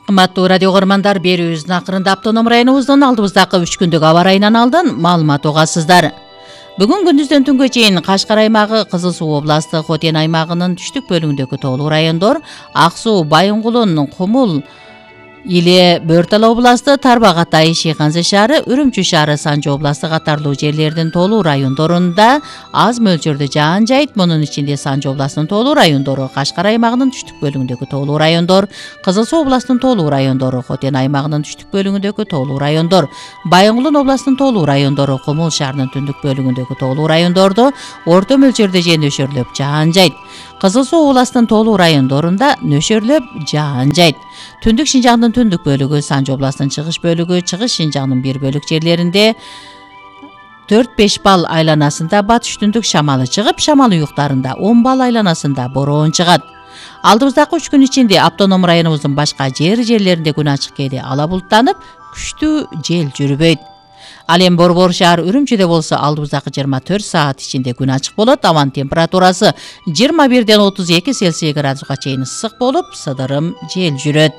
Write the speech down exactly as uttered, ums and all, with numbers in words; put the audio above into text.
Кымбаттуу радио көрөрмандар, берүүбүздүн акырында автоном районубуздун алдыбыздагы үч күндүк аба ырайынан алдан маалымат угасыздар. Бүгүн күндүздөн түнгө чейин Кашкар аймагы, Кызыл Суу областы, Хотен аймагынын түштүк бөлүгүндөгү тоолуу райондор, Ак Суу, Байынгулун, Кумул, Иле, Бөртала областы, Тарбак Атай, Шыйканзы шаары, Үрүмчү шаары, Санжы областы катарлуу жерлердин тоолуу райондорунда аз мөлчөрдө жаан жайт. Мунун ичинде Санжы областынын тоолуу райондору, Кашкар аймагынын түштүк бөлүгүндөгү тоолуу райондор, Кызыл Суу областынын тоолуу райондору, Хотен аймагынын түштүк бөлүгүндөгү тоолуу райондор, Байынгулун областынын тоолуу райондору, Кумул шаарынын түндүк бөлүгүндөгү тоолуу райондордо орто мөлчөрдө же нөшөрлөп жаан жайт. Кызыл Суу областынын тоолуу райондорунда нөшөрлөп жаан жайт. Түндүк Шинжаңдын түндүк бөлүгү, Санжы областынын чыгыш бөлүгү, Чыгыш Шинжаңдын бир бөлүк жерлеринде төрт беш балл айланасында батыш түндүк шамалы чыгып, шамал уюктарында он балл айланасында бороон чыгат. Алдыбыздагы үч күн ичинде автоном районубуздун башка жер жерлеринде күн ачык кээде ала булуттанып, күчтүү жел жүрбөйт. Ал эми Борбор шаар Үрүмчүдө болсо алдыбыздагы жыйырма төрт саат ичинде күн ачык болот. Абанын температурасы жыйырма бирден отуз эки Цельсий градуска чейин ысык болуп, сыдырым жел жүрөт.